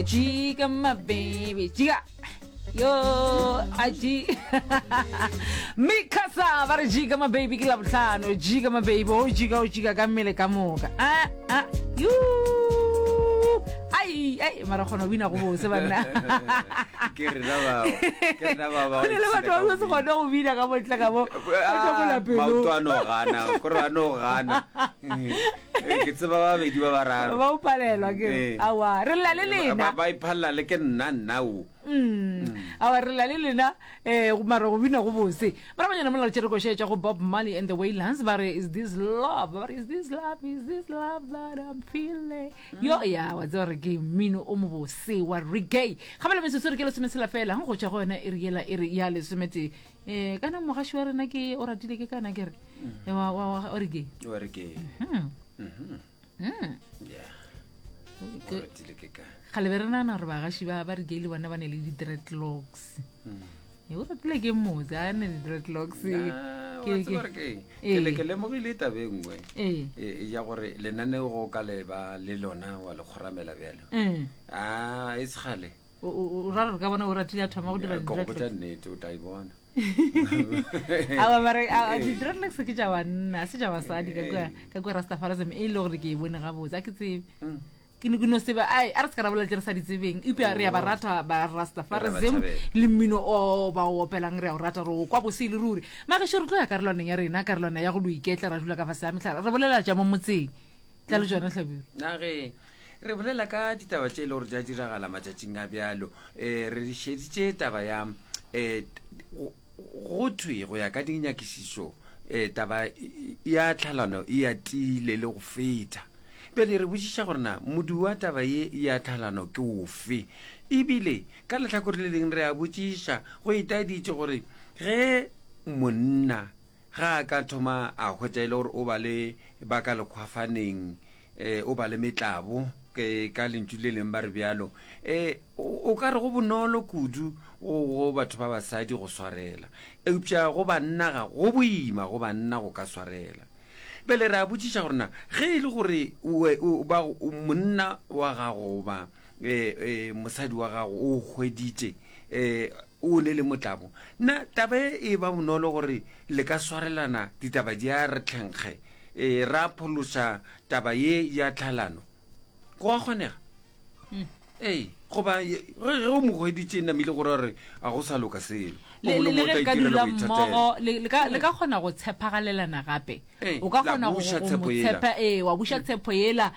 Jika my baby, jika. Yo, a ji. Mikasa ba re jika my baby ke labohlano, jika my baby, o jika o jika ka mmele ka moka. Ah ah. Yu. Ai ai mara kgona go bina go bose banna. Ke rena bao. Ke rena bao ba. Go na le batho ba se kgone go bina ka botle ka bo. Ah, maoto a no gana, kore a no gana. Eh, ke tseba ba babedi ba bararo ba o palelwa ke Eh. awa re lla le lena ba ba iphalela le ke nna nna o Mm. awa re lla le lena um mara go bina go bose morabanyana mola re tšere košetša go bob marley and the waylands ba re is this love ba re is this love is this love that i'm feeling yo ya wa tseba gore ke mmino o mobose wa reggae gabele metsotso re ke lesometshela fela go tšwa go yona e re yela e re ya lesometee um kana mogaši wa rena ke o ratile ke kana ke re eh, wa- wa- wa- o re ke o re ke Hmm. Mhm. Hmm. Yeah. O Ke- ratile ke ka kgale be re nagana gore bagaši ba ba re gay le bona ba ne le di-dreadlocks Mm. e o ratile ke motse a ne di-dreadlocks Na, wa Ke- tseba gore ke eng? Ee. Ke le ke lemogile taba e nngwe ee e, ya gore lenaneo go ka leba le lona wa le kgoramela bjalo Mm. a e segale O ra re ka bona o ratile a thoma go dira Ke go botša nnete o tla e bona. Awa mare di-dreadlocks ke tša banna se tša basadi ka kua ka kua Rastafarism e le gore ke e bone gabotse a ke tsebe. Mm. Ke ne ke no seba ai a re se ka ra bolela tše re sa di tsebeng eupša re ya ba rata ba Rastafarism Re ba thabela. le mmino o ba o opelang re a o rata re o kwa bose e le ruri. Magešo re tlo ya karolwaneng ya rena karolwana ya go lo iketla ra dula ka fase ga mehlare re bolela tša mo motseng. Tla le tšona Hlabirwa. Na ge re bolela ka ditaba tše e le gore di a diragala matšatšing a bjalo um re šeditše taba ya um go thwe go ya ka dinyakišišo um taba ya tlhalano e atile le go feta bjale re botšiša gore na modu wa taba ye ya tlhalano ke ofe ebile ka lehlakore le leng re a botšiša go itaeditše gore ge monna Ga a ka thoma a hwetša e le gore o ba le ba ka lekgwafaneng, um o ba le metlabo, ke ka lentšu le leng ba re bjalo, um o ka re go bonolo kudu go, go batho ba basadi go swarela. Eupša go banna ga go boima go banna go ka swarela. Bjale re a botšiša gore na ge e le gore o, ba, monna wa gago goba e, e, mosadi wa gago o hweditše e, o ne le motlabo, na taba e e ba bonolo gore le ka swarelana ditaba di a re tlhenkge e, ra phološa taba ye ya tlhalano? Go a kgonega? Hmm. Ee, goba ge ge o mo hweditše namile gore a re a go sa loka selo. O Le mongwe le o ge tla le ka itirela dula boithatelo. mmogo le le ka le ka kgona go tshepagalelana gape. Ee, O ka la kgona go buša go tshepo mo yela. tshepa ee wa buša tshepo yela.